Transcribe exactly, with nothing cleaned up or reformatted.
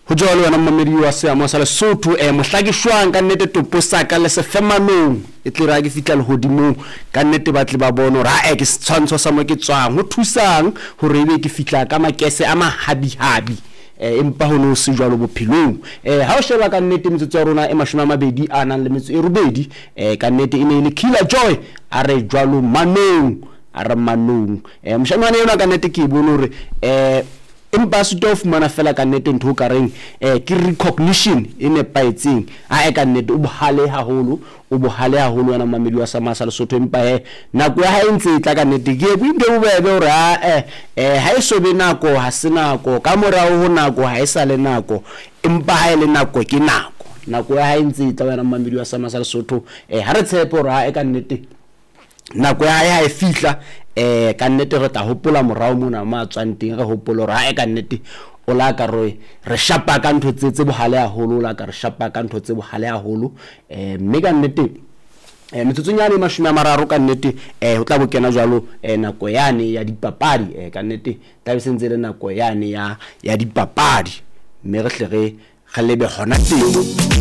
Ho jwalo wena mmamedi wa seamo sa Lesotho, eh mohla ke shwang ka nnete topo sa ka le sefemanong e tle re ha ke fihla lehodimong ka nnete ba tle ba bone hore ae ke setshwantsho sa mo ke tswang. Ho thusang hore ebe ke fihla ka makese a mahabihabi, eh empa ho no se jwalo bophelong. Eh ha o sheba ka nnete metsotso ya rona e mashome a mabedi a nang le metso e robedi, eh ka nnete e ne e le Killer Joy a re jwalo manong, a re manong. Eh moshanyana enwa ka nnete ke e bone hore eh empa a sitwa ho fumana fela ka nnete ntho o ka reng eh ke recognition e nepahetseng. Ae ka nnete o bohale haholo, o bohale haholo wena mmamedi wa Sama sa Lesotho, empa he nako ya hae e ntse e tla ka nnete. Ke e ntho e bobebe hore ae eh ha e so be nako, ha se nako, ka morao ho nako ha e sa le nako, empa ha e le nako ke nako. Nako ya hae e ntse e tla wena mmamedi wa Sama sa Lesotho. Eh ha re tshepe hore ae ka nnete nako ya hae ha e fihla, eh ka nnete re tla hopola morao mona mo a tswang teng, re hopole hore hae ka nnete o la ka re re shapa ka ntho tse tse bohale haholo, o la ka re shapa ka ntho tse bohale haholo. Eh mme ka nnete eh metsotsong yane e mashome a mararo ka nnete eh ho tla bo kena jwalo eh nako yane ya dipapadi. Eh ka nnete tla be se ntse le nako yane ya ya dipapadi, mme re hle re re lebe hona teng.